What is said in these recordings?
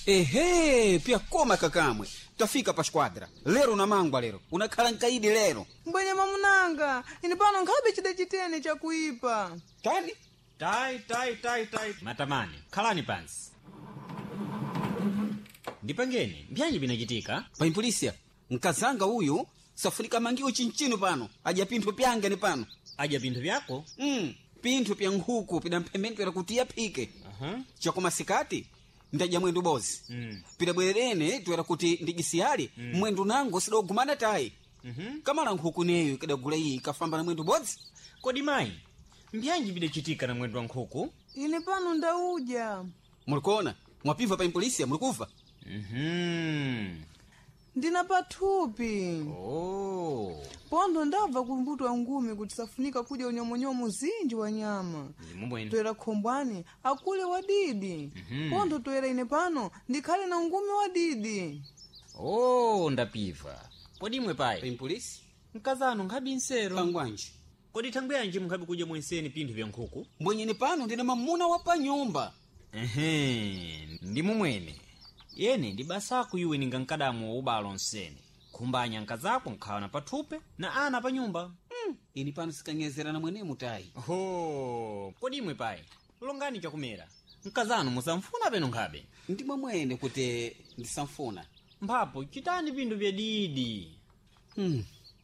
Ehe, pyakoma kakamwe. Tafika pa squadra. Lero unamangwa lero. Unakhala nkaidi lero. Mbwenye mamunanga, ine pano nkhabe chida chitene chakuipa. Tani? Tai, tai, tai, tai. Matamani, khalani pansi. Ndipangeni, mbyanji binachitika? Paimpolisia, mkazanga uyu safunika mangiwo chinchino pano. Adya pinthu pyange ni pano. Adya pinthu vyako? Pinthu pya nkhuku pidamphemendwera kuti yaphike. Chakoma sikati ndadya mwendo bozi. Pidabwererene toera kuti ndijisiyali mwendo nango sidogumana tayi. Kamala nkhuku neyo ikadagula iyi ikafamba na mwendo bodzi. Kodi mayi, mbyanji bidachitika na mwendo wa nkhuku? Ine pano ndaudya. Mulikuona? Mwapimva pa impolisia mulikuva? Ndina pathupi. Oh. Pondo ndabva kumbuto wa ngumi kuti safunika kudya unyomonyomo zinji wa nyama. Ndimubwene. Toera khombwani akule wadidi. Pondo toera ine pano ndikhale na ngumi wadidi. Oh, ndapiva. Kodi imwe payi? Paimpolisi? Mkazanu nkhabi nsero. Pangwanji. Kodi thangwi yanji mukhabi kudya mwenseni pinthu vya nkhuku? Mbwenyeni pano ndine mamuna wa pa nyumba. Ehe, ndi mumwene. Yene ndi basako iwe ninga mkadamu wa ubalo nsene. Khumbanya nkazako nkhawa na pathupe na ana pa nyumba. Ini pano sikanyezerana mwenemu tayi. Ho, kodi imwe payi, longani chakumera. Mkazanu musamfuna peno nkhabe. Ndi mwamwene kuti ndisamfuna. Mphapo chitani pinthu vya didi.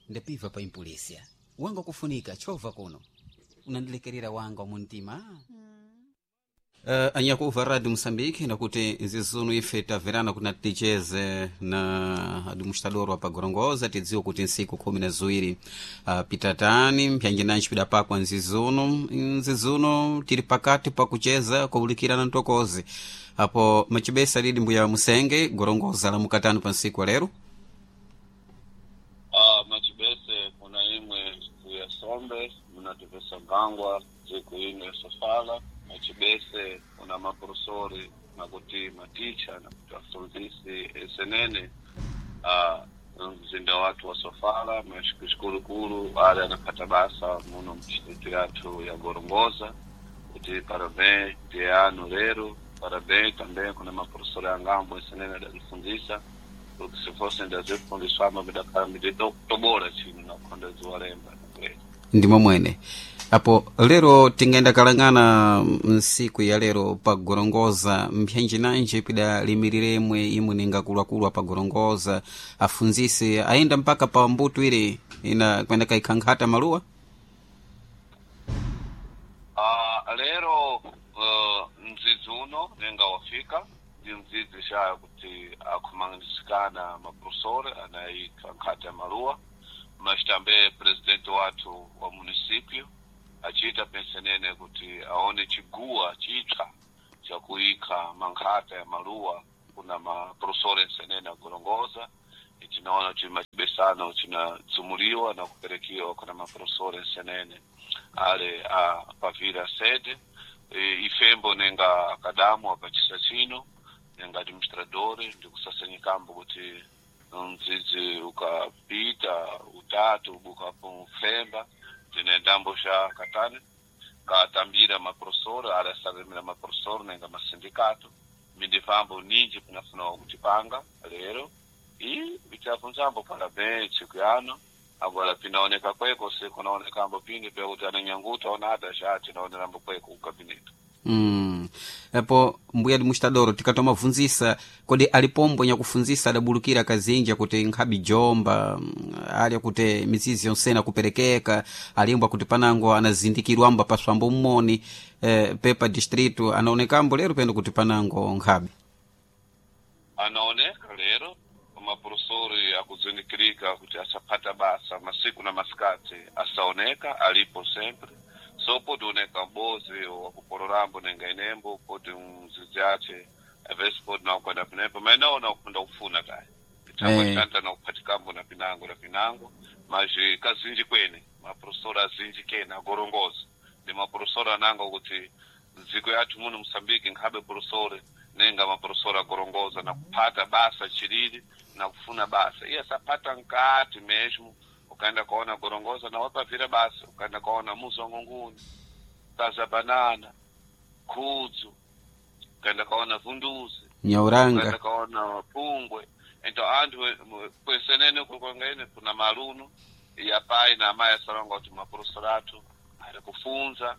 Ndapiva pa impolisia. Wanga kufunika chova kuno. Unandilekerera wanga wa muntima. Anyakuva radio Moçambique nakuti nzizunu ife taverana kuti naticheze na administrador wa pagorongoza tidziwe kuti nsiku 12 pitatani mpyanjinanji pidapakwa nzizuno nzizuno tili pakati pakucheza kuwulikirana ntokozi apo macibesa lili mbuya musenge gorongoza la mukatano pa nsiku wa lero. Machibese kuna imwe siku ya sombe munatipesa ngangwa siku ino ya sofala. Machibese kuna maprofesori nakuti maticha nakuti afunzisi esenene mzinda watu wa sofala mashikulukulu ale anapata basa muno mdistritu yathu ya gorongoza kuti parabéns ano lero parabéns também kuna maprofesori angambo esenene adatifunzisa porque se fossem ndazifundiswamo bidakhala miditobola chino nakhonda ziwalemba nakulera. Ndi momwene apo lero tingayenda kalang'ana nsiku ya lero pagorongoza mpyanjinanji pidalimiriremwe imwe ninga akuluakulu apagorongoza afunzisi ayenda mpaka pa mbuto ile ina kwenda kaikhankhata maluwa. Lero mdzidzi uno nenga wafika ndi mdzidzi shaya kuti akhumanisikana maprofesori anayikha nkhata ya maluwa machitambe presidente wathu wa municipio achita pensenene kuti aone chiguwa chitsva chakuyikha mankhata ya maluwa kuna maprofesori ensenene agorongoza. Tinaona kuti machibesano chinadzumuliwa na kuperekiwa kuna maprofesori ensenene ale a pavira sede. Ifembo nenga akadamu apachisa chino nenga administrador ndikusasenyikambo kuti mdzidzi ukapita utatu bukapo mfemba tinendambo xa katani katambira maprofesori ale asalemera maprofesori nenga masindikato mindifambo ninji pinafuna kutipanga lero i vichafunzambo parabéns tsiku yano. Agora pinaoneka kweko se kunaonekambo pindi pyakuti ananyanguta onada xa tinaonerambo kweko kukabinete. Apo mbuya administrador tikatomabvunzisa kodi alipombo nyakufunzisa adabulukira kazinji kuti nkhabi jomba ali kuti mizizi yonsena kuperekeka alimbwa kuti panango anazindikirwamba paswambo mmoni pepa distrito anaonekambo lero pendo kuti panango nkhabi anaoneka lero maprofesori akuzindikirika kuti asapata basa masiku na masikati asaoneka alipo sempre so podi oneka mbozi wakupolorambo nenga inembo podi mzizi ache avesi podi nakwenda pinepo mainaona kupenda kufuna kaya changwe chanta nakupatikambo na pinango na pinango maji kazinji kwene maprofesori azinji kene agorongoza ndi maprofesori ananga kuti nziko yathu muno Mosambiki nkhabe profesori nenga maprofesori agorongoza na kupata basa chilili na kufuna basa iye asapata nkati mesmo ukaenda kaona gorongoza na wapavira basa ukaenda kaona muzongo nguni kaza banana khudzu ukaenda kaona vunduzi. Nyauranga. Kaona mapungwe. Então anthu kwesenene kukwangene kuna maluno ya pai na amayi asalonga kuti maprofesora athu ali kufunza,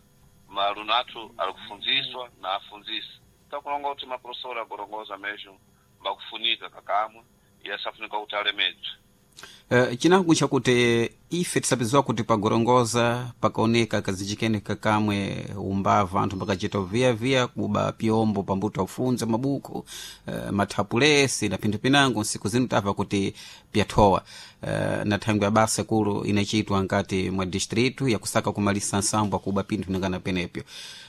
maluno athu ali kufunziswa na afunzisa. Takulonga kuti maprofesora agorongoza mesmo mbakufunika kakamwe yasafunika kuti alemedzwe. Chinango chakuti ife tisapiziwa kuti pagorongoza pakaoneka kazichikene kakamwe umbava anthu pakachita viyaviya kuba pyombo pambuto afunza mabuku, mathapulesi na pinthu pinango. Nsiku zino tamva kuti pyathowa, na thangwi ya basa kulu inachitwa nkati mwa distritu yakusaka kumalisa nsambo akuba pinthu nangana penepyo.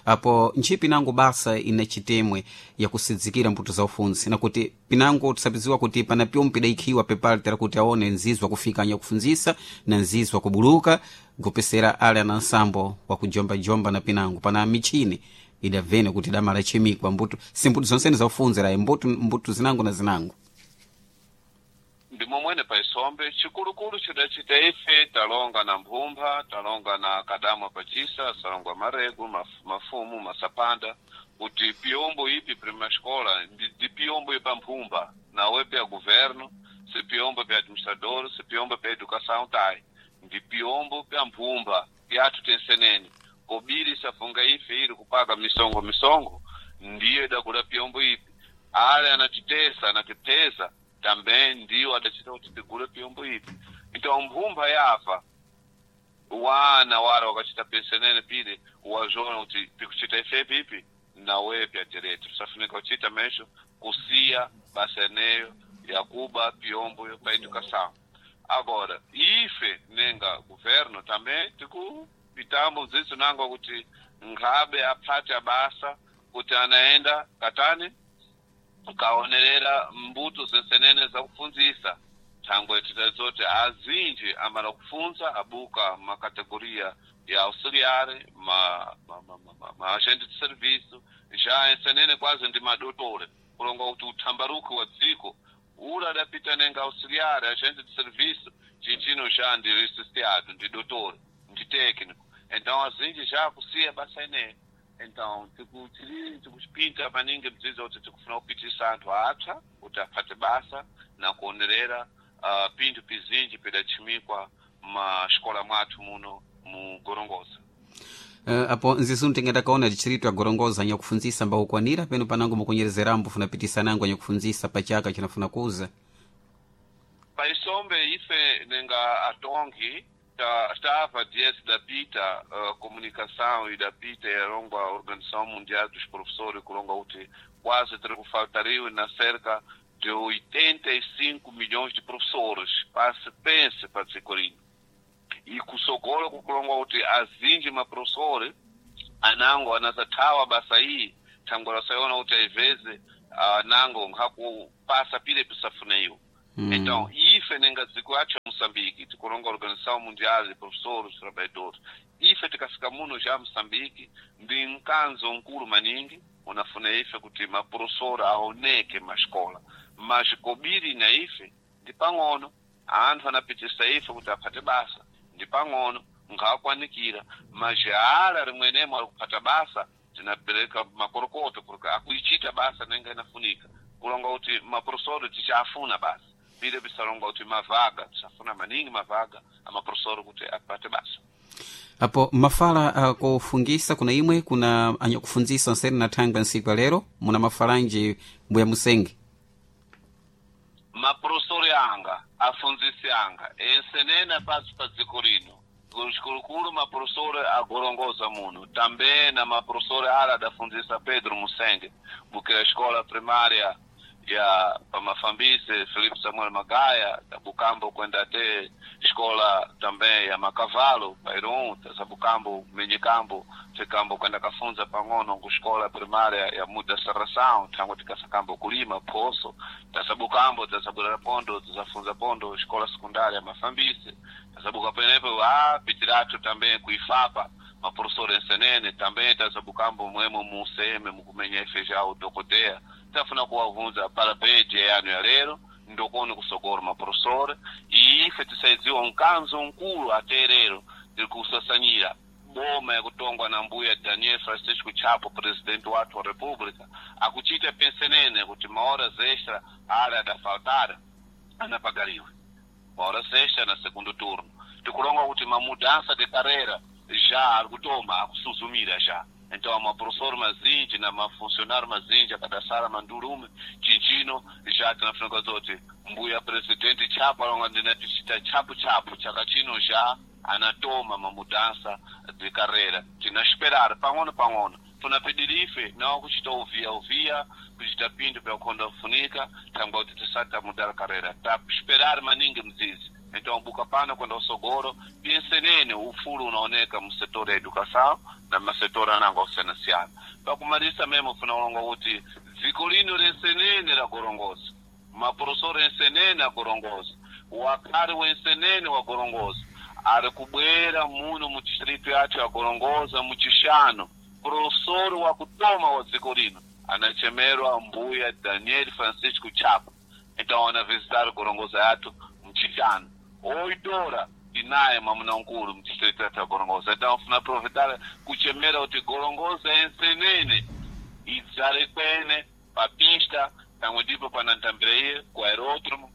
Apo ntchito pinango basa inachitemwe yakusidzikira mbuto za ufunzi, nakuti pinango tisapiziwa kuti pana pyombo pidayikhiwa pepale tera kuti aone nzizwa kufika anyakufunzisa na nzizwa kubuluka kupesera ale ana nsambo wakujombajomba na pinango pana michini idavene kuti idamala chimikwa mbuto si mbuto zonsene zaufunzira mbuto zinango na zinango. Ndi momwene paisombe chikulukulu chidachita ife talonga na mphumpha, talonga na kadamwa pachisa salongwa maregu mafumu masapanda kuti piyombo ipi prima escola ndi piyombo ipa mphumpha nawe pya governo, se piyombo pya administrador, se piyombo pya educação tai ndi piyombo pya mphumpha pyathu tensenene kobiri safunga ife ili kupaga misongo misongo ndiyo idakula piyombo ipi ale anatitesa anatipeza também ndiyo adachita kuti tigule piyombo ipi. Então mphumpha yafa wana wara wakachita pensenene pile wazona kuti pikuchita ife pipi nawe pya direito tisafunika kuchita mesho kusiya basa eneyo yakuba piyombo pa educação. Agora ife nenga governo também tikupitamo zizo nango kuti nkhabe aphate abasa kuti anaenda katani kaonerera mbuto zensenene zakufunzisa thangwe titazoti azinji amala kufunza abuka makategoria ya auxiliar ma agente de serviço já ensenene quase ndi madotore kulonga kuti uthambaruki wa dziko ula adapita nenga auxiliar agente de serviço chinchino já ndi licenciado ndi dotore ndi técnico. Então azinji já kusiya basa ineyo. Então tikuchipinta maningi mdzidzo kuti tikufuna kupitisa anthu apsa kuti aphate basa na kuonerera pinthu pizinji pidachimikwa maxikola mwathu muno mu Gorongosa. Apo nzisu tingandakaona distrito ya Gorongosa anyakufunzisa mbakukwanira peno panango mukunyerezerambo funapitisa nango anyakufunzisa pachaka chinafuna kuza. Paisombe ife nenga atongi estava diante da PITA, comunicação e da PITA era a Organização Mundial dos Professores, que quase faltariam na cerca de 85 milhões de professores. Passe, pense, para Corinho. E com socorro, com azinji professores, anango anazatawa basaí, tangora sayona kuti às vezes anango nkakupasa pile pisafuneyo. Então, ife nenga dziko yacho Moçambique, tikulonga Organização Mundial de Professores e Trabalhadores, ife tikafika muno já Moçambique, ndi mkanzo nkulu maningi, unafuna ife kuti maprofessor aoneke mascola, mas kobiri na ife ndi pang'ono, anthu anapitisa ife kuti aphate basa, ndi pang'ono, nkhaakwanikira, mas ala rimwenemo ali kuphata basa, tinapereka makorokoto porque akuichita basa nenga inafunika, kulonga kuti maprofessor tichafuna basa pile bisalonga kuti mavaga tisafuna maningi mavaga amaprofessor kuti apate basa. Apo mafala kufungisa kuna imwe kuna anyakufunzisa nseri na thangwi nsiku ya lero muna mafalanji mbuya musenge. Maprofessor anga afunzisi anga ensenena pasi pa dziko lino zikulukulu maprofessor agorongoza muno também na maprofessor ala adafunzisa Pedro Musenge bukira escola primária ya pamafambise Felipe Samuel Magaya tabukambo kwenda te escola também ya Macavalo Pairon tasabukambo Menyikambo tikambo kwenda kafunza pang'ono ku escola primária ya Muda Serração tango tikasakambo kulima poso tasabukambo tasabulera pondo tasafunza pondo escola secundária ya Mafambise tasabuka penepo pitiratu também kuifapa maprofessor ensenene também tasabukambo mwemo mu CM mukumenya ife já o dokotea tafuna kuwavunza parabéns dia yanu ya lero ndokoni kusogora maprofessor e ife tisaidziwa mkanzo nkulu aterero tiri kusasanyira Boma yakutongwa na mbuya Daniel Francisco Chapo, presidente wathu wa república, akuchita pensenene kuti mahoras extra ale adafaltara anapagaliwe, mahoras extra na segundo turno. Tikulonga kuti mamudança de carreira já ari kutoma akusuzumira já. Então maprofessor mazinji na mafuncionário mazinji akadasala mandurume chinchino já tinafunika zoti mbuya presidente Chapo alonga ndinatichita chapu chapu chaka chino já anatoma mamudança de carreira. Tinasperar pang'ono pang'ono, tunapedirife nawo kuchita uvia uvia kuchita pinto pyakukhonda kufunika thangwa kuti tisati tamudala carreira, tasperar maningi mzizi. Então buka pano kwenda usogoro pensenene ufulu unaoneka mu setor ya educação na masetor anango akusiyanasiyana. Pakumalisa memo funa ulonga kuti dziko lino lensenene la gorongosa, maprofesor ensenene agorongosa, wakhali wensenene wa gorongosa ari kubwera muno mu distrito yathu ya Gorongosa muchishano, professor wakutoma wa dziko lino anachemerwa mbuya Daniel Francisco Chapo. Então ana visitar Gorongosa yathu mchishano 8 horas tinaye mwamuna nkulu mu distrito yathu ya Gorongosa. Então funa aproveitar kuchemera kuti Gorongosa ensenene idzale kwene papista pamwe ndipo panantambira iye ku aeródromo.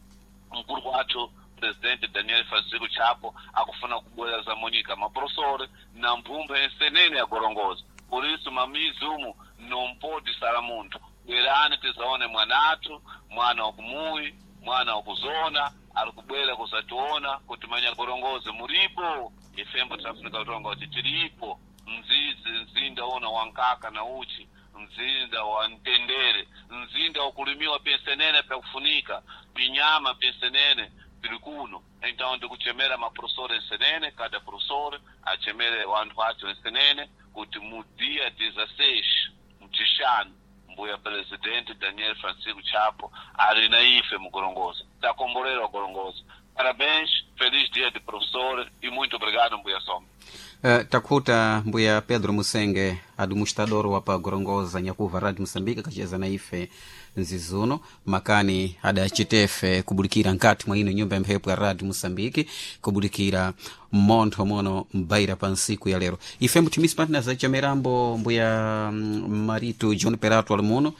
Mkulu wathu presidente Daniel Francisco Chapo akufuna kubwera za Monica maprofessor na mphumba ensenene ya Gorongosa. Por isso mamizi umu nompodi sala munthu, bwerani tizaone mwanathu, mwana wakumuyi, mwana wakuzona ari kubwera kuzationa kuti manya Gorongozi muripo. Ifembo tinafunika kutonga kuti tiripo mzizi, mzinda una wankaka na uchi, mzinda wa mtendere, mzinda wakulimiwa pensenene pyakufunika pinyama pensenene tiri kuno. Então ndikuchemera maprofessor ensenene, cada professor achemere wanthu acho ensenene kuti mu dia 16 mchishanu mbuya presidente Daniel Francisco Chapo ali na ife mugorongosa. Takombolerwa Gorongosa. Parabéns, feliz dia de professor e muito obrigado, mbuya Soma. Takhuta mbuya Pedro Musenge, administrador wa pa Gorongosa, nyakuva Radio Moçambique kacheza na ife nzizuno makani adacitefe kubulikira nkati mwa ino nyumba ya mphepo ya Radio Moçambique kubulikira mmontho mono mbaira pa nsiku ya lero. Ife mthimisi partners achamerambo mbuya Marito John Perato ali muno.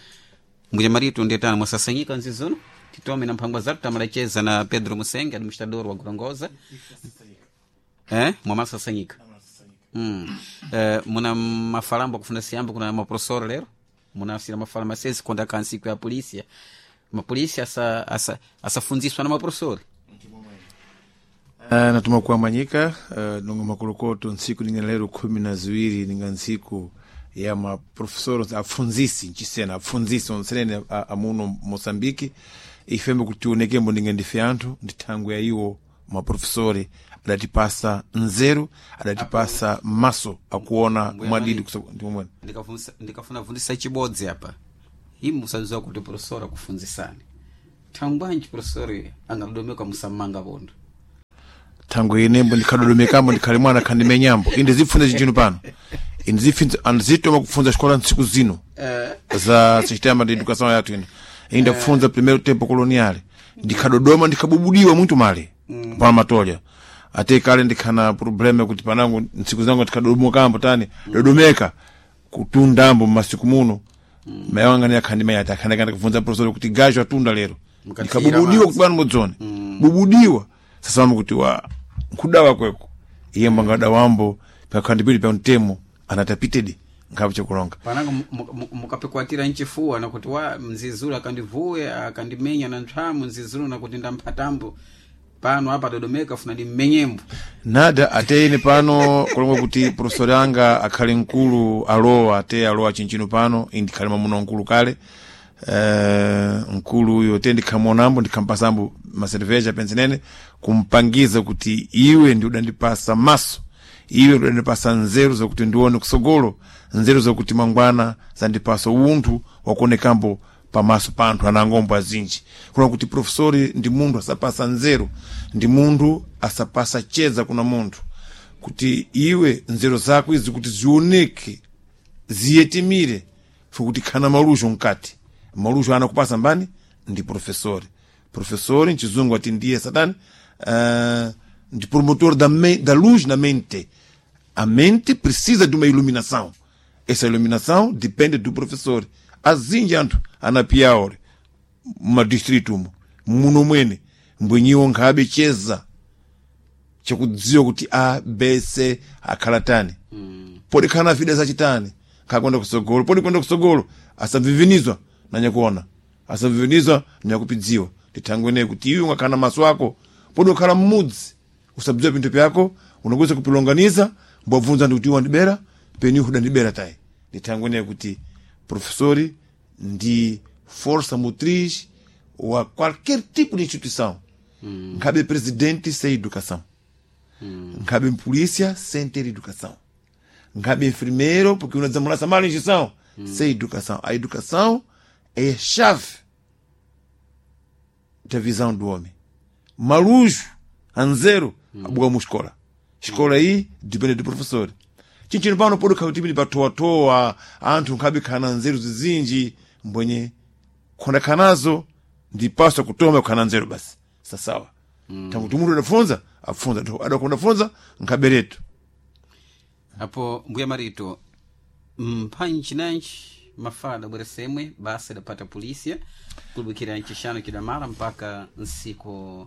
Mbuya Marito, ndetani mwasasanyika nzizuno titome na mphangwa zatu tamalacheza na Pedro Musenge, administrador wa Gorongosa, mwamasasanyika. Muna mafalambo akufuna siyambo kuna maprofessor lero munasira mafala masezi konda kansiku ya polícia, mapolisia asafunziswa na maprofessor. Natuma kuamanyika nongo makolokoto ntsiku ninga lero 12 ninga ntsiku ya maprofessor apfunzisi nchisena apfunzisi onsenene amuno Moçambique. Ifembe kuti tionekembo ninga ndife anthu ndi thangwe ya iwo maprofesori adatipasa nzeru, adatipasa maso akuona Mbuya mwadidi Maria. Ndimomwene. Ndikafuna vundisa chibodzi apa, imu musadziwa kuti professor akufunzisani thangwanji professor angadodomeka musamanga pondo. Thangwe inembo ndikhadodomekambo ndikhale mwana khandimenyambo inde zipfunza chinchino pano inde zipfunza andizitoma kupfunza xikola ntsiku zino za sistema de educação yathu ino inda kufunza primeiro tempo colonial ndikhadodoma ndikhabubudiwa muntu male pana matolya ate kale ndikhana problema kuti panango ntsiku zangu ndikhadodomokambo tani dodomeka kutundambo mmasiku muno mayi wanga ni akhandimenya ati akhandakanda kufunza professor kuti gajo atunda lero. Mukatira ndikhabubudiwa madzi. kuti bwana mudzone bubudiwa sasama kuti wa nkudawa kweko iye mbangada wambo pakhandipili pa mtemo anatapitedi nkhapo chakulonga. Panango mukapikwatira nchifuwa nakuti wa mzizulu akandivuye akandimenya na nthwamu nzizulu nakuti ndamphatambo pano apa dodomeka funa ndimmenyembo. Nada ateyene pano kulonga kuti profesori anga akhale mkulu alowa ate alowa chinchino pano indi ndikhale mwamuna mkulu kale, mkulu uyo te ndikhamuonambo ndikhampasambo maserveja pensenene kumpangiza kuti iwe ndi udandipasa maso, iwe ndi udandipasa nzeru zakuti ndione kusogolo, nzeru zakuti mangwana zandipasa unthu wakuonekambo pamaso pa anthu anangombo azinji. Kuna kuti profesori ndi munthu asapasa nzeru, ndi munthu asapasa chedza kuna munthu kuti iwe nzeru zako izi kuti zioneke ziyetimire fukuti khana maluxo mkati maluxo anakupasa mbani ndi profesori. Profesori mchizungu ati ndiye satani, ndi promotor da luz na mente. A mente precisa de uma iluminação. Essa iluminação depende do professor. Azinji anthu anapiyaore mumadistritu umo muno mwene mbwenyiwo nkhabe cheza chakudziwa kuti a b c akhala tani podi khala na vida zachitani khakwenda kusogolo podi kwenda kusogolo asamvivinizwa nanyakuona asamvivinizwa nanyakupidziwa ndithangwene kuti iwe ungakhala na maso ako podi ukhala mmudzi usadziwa pinthu pyako unakuweza kupilonganiza mbwabvunza ndi kuti iwe wandibera peni iwe udandibera tayi ndithangwene kuti professori ndi força motriz wa qualquer tipo de instituição. Nkhabe presidente sem educação. Nkhabe polícia sem ter educação. Nkhabe enfermeiro, porque uma desamulaça mal instituição, sem educação. A educação é a chave da visão do homem. Malujo, anzero, abuka mu escola. Escola aí depende do professor. Chinchino pano podi khautipili patoatoa, anthu nkhabe khana nzeru zizinji, mbwenye khonda khanazo ndi paso kutoma kukhana nzeru basi sasawa. Tangu munthu adafunza afunza adakonda funza nkhaberetu. Apo mbuya marito mphanji nanji mafala bweresemwe basa idapata polícia kulubukira ncixano cidamala mpaka nsiku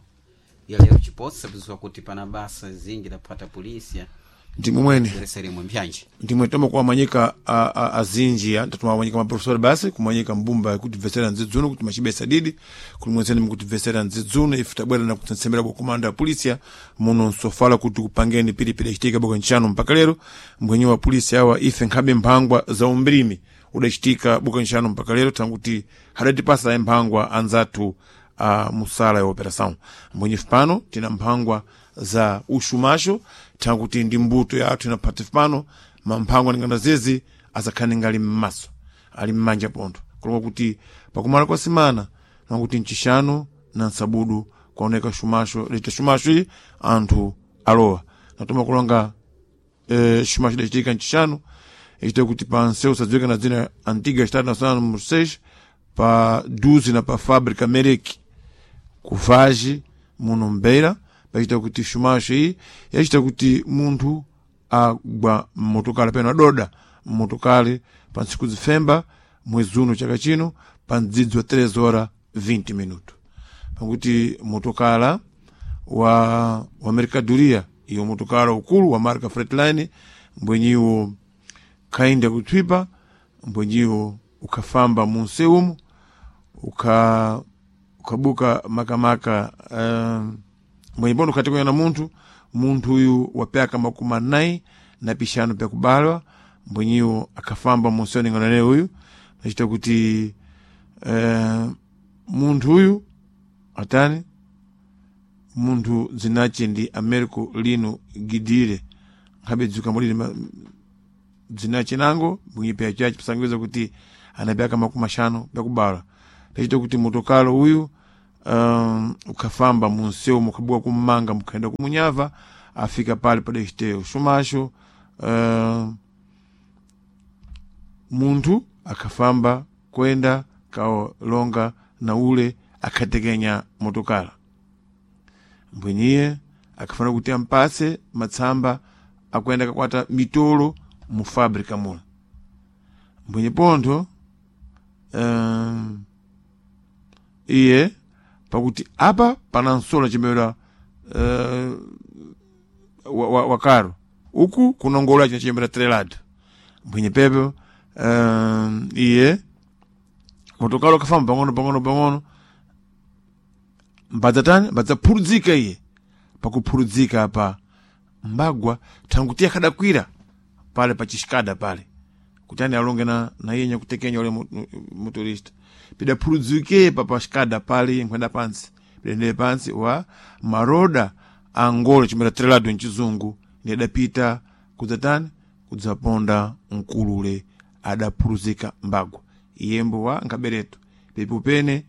ya lero cipotsa piziwa kuti pana basa zinji idapata polícia Ndimwe mwene bwereseremwe mpyanji ndimwe toma kuwamanyika azinji tatumawamanyika maprofesori basi kumanyika mbumba kuti bvesera nzidzuno kuti machibesa didi kuti mwenzeni mukutibvesera nzidzuno ife tabwera na kutsembera bwa komanda ya polisia muno nsofala kuti kupangeni pilipili achitika bwa ntchano mpaka lero mbwenye wa polisi awa ife nkhabe mphangwa za umbrimi udachitika buka ntchano mpaka lero tanguti hadatipasa mphangwa anzathu a musala ya operação mbwenye ife pano tina mphangwa za ushumasho tanguti ndi mbuto ya athu inaphati pano mamphangwa ningana zezi azakhale ngali mmaso ali mmanja pontho kulonga kuti pakumala kwa simana nakuti mchixano na nsabudu kwaoneka shumasho lita shumasho ili anthu alowa natoma kulonga shumasho idachitika mchixano ichita kuti pa nseu sadziwika na dzina antiga estado nacional número 6 pa 12 na pa fábrica mereki kuvaji muno mbeira pachita kuti shumasho iyi yachita kuti munthu agwa mmotokali peno adoda mmotokali pa ntsiku zifemba mwezi uno chaka chino pa mdzidzi wa 3 hora 20 minuto pakuti motokala wa mercadoria iyo motokala ukulu wa marka Freightliner mbwenyiwo khainda kutswipa mbwenyiwo ukhafamba munsewumo ukhabuka makamaka mbwenye pono ukhatekenya na munthu munthu uyu wapyaka makumi anayi na pixanu pyakubalwa mbwenyiwo akhafamba munsewu ning'anane uyu nachita kuti munthu uyu atani munthu dzinace ndi Americo Lino Gidire nkhabe dzuka mulini dzinace nango mbwenye pya chace pisangiza kuti anapyaka makumi axanu pyakubalwa tachita kuti motokalo uyu ukhafamba munsewu mukhabuka kummanga mukhaenda kumunyava afika pale padachiteyo shumasho munthu akhafamba kwenda kaolonga na ule akhatekenya motokala mbwenyiye akhafana kuti ampase matsamba akuyenda kakwata mitolo mu fábrica mula mbwenye pontho iye pakuti apa pana nsola chimera wakaro uku kunongola china chimera trelado mbwenye pepo iye motokalo kafamba pang'ono pang'ono pang'ono mbadzatani mbadzaphurudzika iye pakuphurudzika apa mbagwa thanguti akhadakwira pale pa chixikada pale kuti ani alonge na iye nyakutekenya ule motorista pidaphurudzike pa paxikada pale iye nkhwenda pansi pidendere pansi wa maroda angola chimera trelado mchizungu ndi adapita kudzatani kudzaponda mkulule adaphuruzika mbagwa iyembo wa nkhabereto pepo pene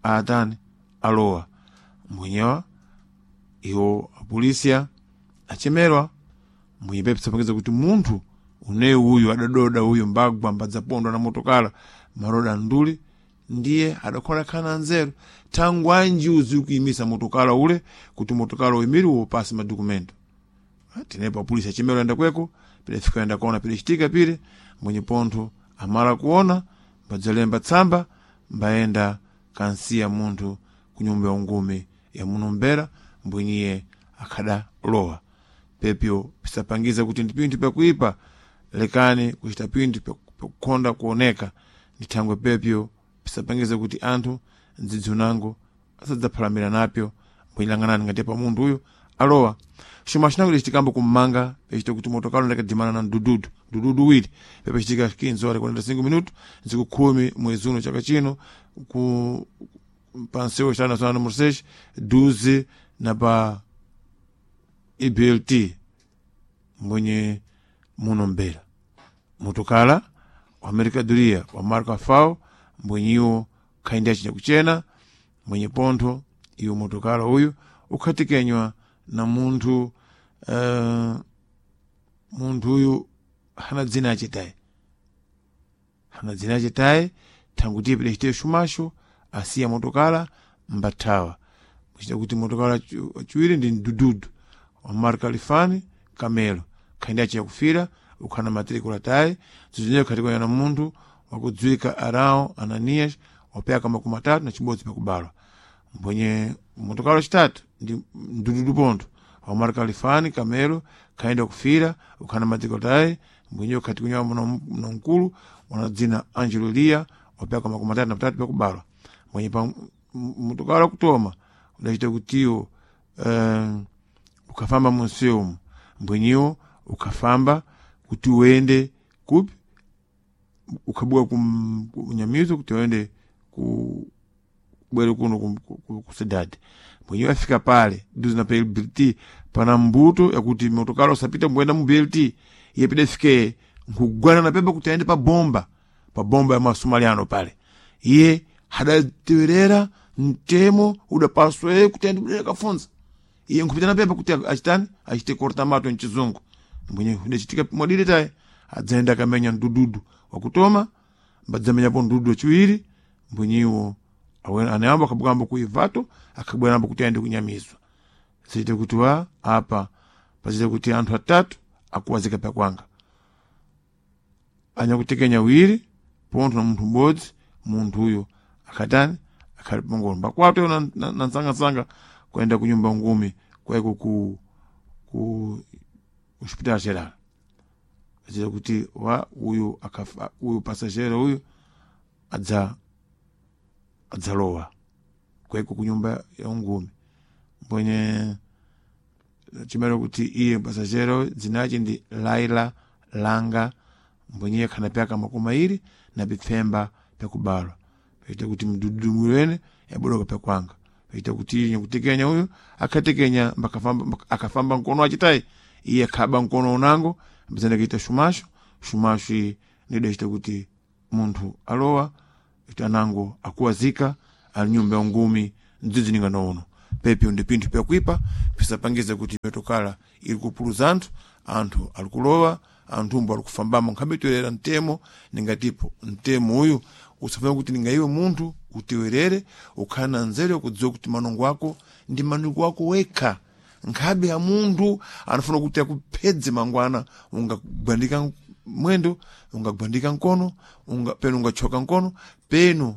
atani alowa mbwenyewa iwo apolisiya achemerwa mbwenye pepe sapangeza kuti munthu uneyu uyu adadoda uyu mbagwa mbadzapondwa na motokala maroda nduli ndiye adakhola khana nzeru thangwanji uzi kuyimisa motokala ule kuti motokala uyimiri wopasi madokumento Tenepo apolisi achimero enda kweko pile fika enda kuona pile chitika pile mwenye pontho amala kuona mbadzalemba tsamba mbaenda kansiya munthu kunyumba ya ungumi ya munombera mbwinyiye akhadalowa. Pepyo pisapangiza kuti ndi pinthu pyakuipa, lekani kuchita pinthu pyakukhonda kuoneka. Ndi thangwe pepyo pisapangiza kuti anthu mdzidzi unango asadzaphalamira napyo, mbwinyilang'anani ngati pa munthu uyu alowa. Xuma cinango licitikambo kummanga pecita kuti motokalo ndakadimana na mdududu mdududu uwiri pepacitika 15 horas 45 minuto ntsiku 10 mwezi uno chaka chino ku pansewo cha nacional número 6 12 na pa IBLT mwenye muno mbera motokala wa mercadoria wa marca fao mbwenyiwo khaindi acinya kuchena mwenye pontho iwo motokala uyu ukhatikenywa na munthu munthu uyu hana dzina acitaye, hana dzina acitaye thanguti pidacite xumaxo asiya motokala mbathawa kuchita kuti motokala aciwiri ndi mdududu wa marka lifani kamelo khaindi aciya kufira ukhana matricula tayi zizinyeyo khatikanya na munthu wakudziwika Arão Ananias wapyaka 31 pakubalwa. Mbwenye motokala wacitatu ndi mdududu pontho wa marka lifani kamelo khaenda kufira ukhana matricula tayi mbwenye khatikunya na mkulu wana dzina Angelo Lia wapyaka 33 pakubalwa. Mwenye pa motokala kutoma udacita kutiwo ukafamba munsewu mbwenyiwo ukafamba kuti uende kupi ukhabuka kunyamizo kuti uende ku bwere kuno ku cidade mwenyewe afika pale duzi na pa BLT pana mbuto yakuti motokala usapita mbwenda mu BLT iye pida fike nkugwana na pepa kuti aende pa bomba, pa bomba ya masomaliano pale iye hadatewerera mtemo udapaswa kuti aende kudera kafunza iye nkupita na pepa kuti achitani achite korta mato mchizungu mwenye udachitika mwadire taye adzaenda akamenya mdududu wakutoma mbadzamenyapo mdududu wachiwiri mbwenyiwo anayamba akabwamba kuivato akabweramba kuti aende kunyamizwa zichite kuti wa apa pachite kuti anthu atatu akuwazika pakwanga anyakutekenya wiri pontho na munthu m'bodzi munthu uyo akatani akhali pangolo mbakwato na nsangasanga kuenda kunyumba ngumi kwaiko ku hospital geral achita kuti wa uyu akafa uyu pasajero uyu adzalowa kwaiko kunyumba ya ungumi mbwenye chimero kuti iye pasajero dzinachi ndi Laila Langa mbwenye khana pyaka 25 pyakubalwa paita kuti mdududu mwene yabodoka pyakwanga paita kuti iye nyakutekenya uyu akhatekenya akafamba mkono achitayi iye akhaba mkono unango ambizana kaita shumasho shumasho iyi nidachita kuti munthu alowa iti anango akuwazika ali nyumba ya ngumi mdzidzi ningano uno. Pepyo ndi pinthu pyakuipa pisapangize kuti mitokala ili kupuluza anthu, anthu ali kulowa anthumbo ali kufambamo nkhabetwerera mtemo ningatipo mtemo uyu usafuna kuti ningaiwe munthu utiwerere ukhale na nzeru yakudziwa kuti manongo ako ndi manongo ako wekha nkhabe ya munthu anafuna kuti akuphedze mangwana ungagwandika mwendo ungagwandika mkono penu ungachoka mkono penu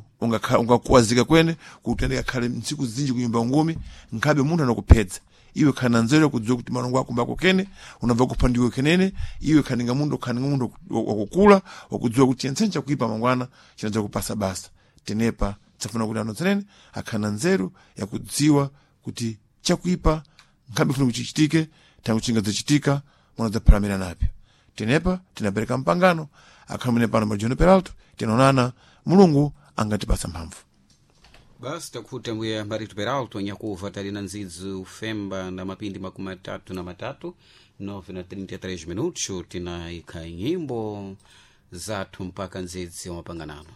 ungakuwazika kwene kuti andikakhale ntsiku zinji kunyumba ngumi nkhabe munthu anakuphedza iwe khana nzeru yakudziwa kuti malongo ako mbako kene unabva kupha ndiwe kenene iwe khaninga munthu khaninga munthu wakukula wakudziwa kuti yentsene chakuipa mangwana chinadza kupasa basa tenepa tsafuna kuti anthu tsenene akhana nzeru yakudziwa kuti chakuipa nkhabe funa kuchichitike tangu chingadzachitika munadzaphalamira napyo. Tenepa tinapereka mpangano akhamene pano majono Peralto tinaonana Mulungu angatipasa mphamvu. Basi takuti mbuya Barito Peralto nyakuva tali na ndzidzi ufemba na mapindi 33 9 na 33 minutos tinaikha nyimbo zathu mpaka ndzidzi wa mapanganano.